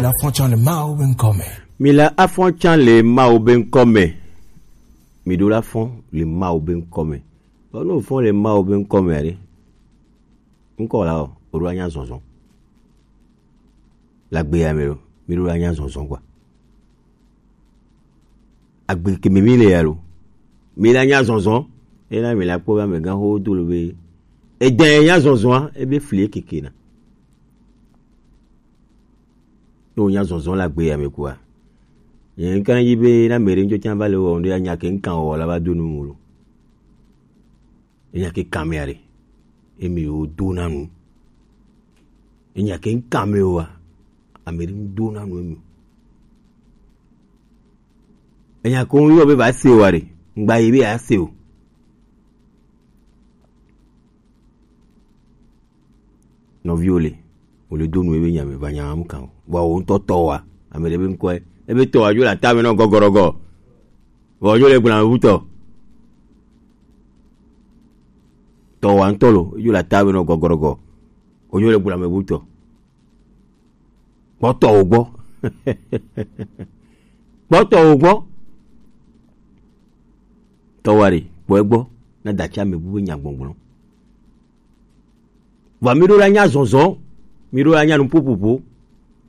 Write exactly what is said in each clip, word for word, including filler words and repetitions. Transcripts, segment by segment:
La fonction le Mawu be ŋkɔ me. Mi la afɔn can le Mawu be ŋkɔ me. Mi ɖo la fɔn le Mawu be ŋkɔ me. Bɔ no fɔn le Mawu be ŋkɔ me aɖe. Ŋkɔ la o, o ɖo anya zɔzɔ. La gbe ya me lo, mi ɖo la anya zɔzɔ gba. Agbe ke me mi le ya lo. Mi la nya zɔzɔ. Ena mi la kpɔ be amegã ho do lo be. Edɛ nya zɔzɔa, ebe fli keke na. Ne wonya zɔzɔ le agbe ya me kua, nye ŋka yi be na ame ɖe ŋtsɔ tsã va le wɔ ŋɖe anya ke ŋkan wɔ la va do nu mu lo. Enya ke kan me aɖe. Emi wo do na nu. Enya ke ŋkan me wa, ame ɖe ŋdo na nu emi. Enya ko ŋyɔ be va se wa ɖe, ŋgba yi be a se o. Nɔviwo le, wòle do nu ebe nya me va nya mu kan o. Vɔ wo ŋutɔ tɔ wa, ame ɖe be ŋkɔe, ebe tɔ wa dzo le ata me nɔ gɔgɔrɔgɔ. Vɔ dzo le gbla me bu tɔ. Tɔ wa ŋutɔ lo, dzo le ata me nɔ gɔgɔrɔgɔ. Wo dzo le gbla me bu tɔ. Kpɔtɔ wo gbɔ. Kpɔtɔ wo gbɔ. Tɔ wa ɖe, kpɔ egbɔ, na datsi ame bu be nya gbɔgblɔ. Vɔ mi ɖo la nya zɔzɔ, mi ɖo la nya nu popopo.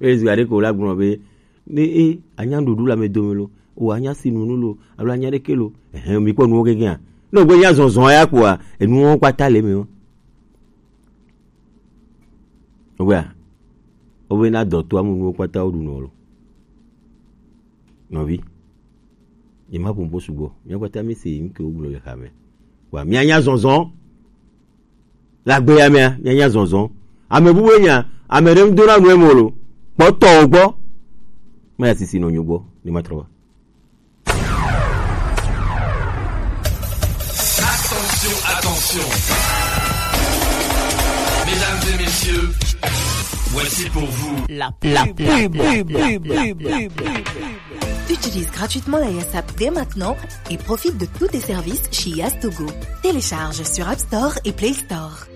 Eye zi aɖe ko la gblɔ be, ne e anya ɖuɖu le ame dome lo, o anya si nunu lo, alo anya ɖeke lo, ehe, mi kpɔ nuwo gege a. Ne o gbe nya zɔzɔ ya kpoa, enuwo kpata le me o. Ogbea, obe na dɔ to amu nuwo kpata wo ɖu nɔ lo. Nɔvi, ye ma ƒo ƒo sugbɔ. Mia kpata mi se nu ke wo gblɔ le xa me. Wa mia nya zɔzɔ. Le agbe ya mea, mia nya zɔzɔ. Ame bubu nya, ame ɖe ŋdo na nu emo lo. Kpɔtɔ wo gbɔ. Ma ya sisi nɔ nyo gbɔ, ni ma trɔ va. Attention, attention. Mesdames et messieurs, voici pour vous la pub. Utilise gratuitement la S A P dès maintenant et profite de tous tes services chez Yastogo. Télécharge sur App Store et Play Store.